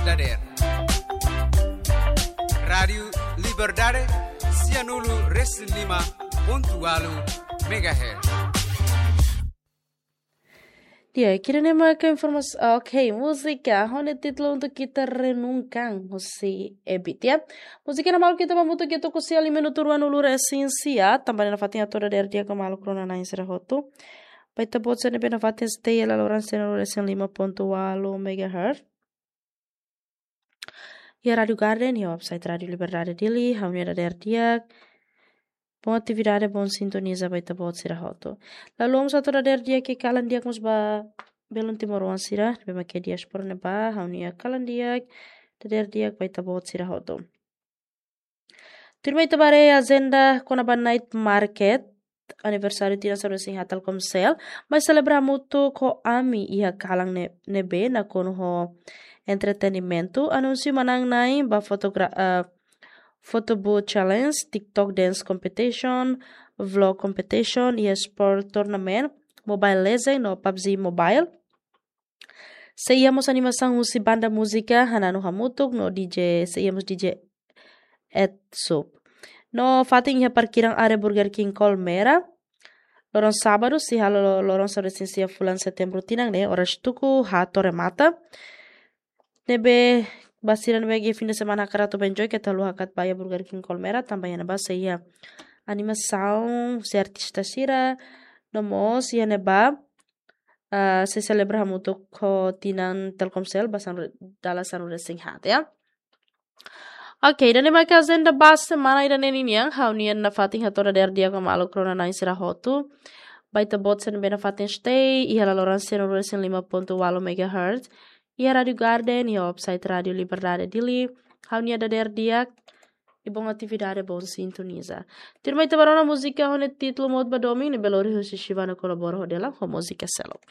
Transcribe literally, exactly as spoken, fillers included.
dadeer. Rádiu Liberdade, sianulu resin lima pontu walu megahertz. Dia, kira ne'e maka informasaun, ok, múzika ho nia títulu Untuk Kita Renungkan, husi Ebit, ya. Múzika ne'e malu ita hamutuk to'o sianulu rua nulu resin sia, tanba ne'e nafatin hato'o dadeer di'ak ba maluk rona-na'in sira hotu. Ba ita-boot sira ne'ebé nafatin stay iha laloran sianulu resin lima pontu walu megahertz. Iha Rádiu Garden, iha website Rádiu Liberdade Dili, ha'u-nia dadeer di'ak. Boa atividade, boa sintoniza ba ita-boot sira hotu. Lalu, ha'u mós hato'o dadeer di'ak kalan di'ak mós ba belun timoroan sira, ne'ebé mak iha diáspora ne'ebá, ha'u-nia kalan di'ak, dadeer di'ak ba ita-boot sira hotu. Tuirmai ita bá haree ajenda kona-ba night market, aniversáriu tinan sanulu-resin-haat Telkomcel, mai selebra hamutuk ho ami iha kalan ne-, ne'ebé nakonu ho entretenimentu, anúnsiu manán-na'in ba fotogra-, eh, photo booth challenge, TikTok dance competition, vlog competition, iha sport tournament, Mobile Legend no PUBG Mobile. Sei iha mós animasaun husi banda múzika Hananu Hamutuk no D J, sei iha mós D J Ed Sub. No fatin iha parkiran área Burger King Colmera. Loron sábadu, sira halo loron sanulu-resin-sia fulan setembru tinan ne'e, oras tuku haat to'o remata. Ne'ebé ba sira ne'ebé iha fin de semana hakarak atu bá enjoy, keta haluha hakat bá iha Burger King Colmera, tanba iha ne'ebá sei iha animasaun husi artista sira, no mós iha ne'ebá, ah, sei selebra hamutuk ho tinan Telkomcel ba sanulu, dala sanulu-resin-haat, ya. Ok, ida-ne'e maka ajenda ba semana ida-ne'e ninian, ha'u-nian nafatin hato'o dadeer di'ak ba maluk rona-na'in sira hotu. Ba ita-boot sira ne'ebé nafatin stay iha laloran sianulu resin lima pontu walu megahertz, iha Rádiu Garden, iha website Rádiu Liberdade Dili, ha'u-nia dadeer di'ak, i boa atividade, boa sintoniza. Tuirmai ita bá rona múzika ho nia títulu Mout ba Domin, ne'ebé lori husi Shivana Koloboro ho Delan, ho múzika seluk.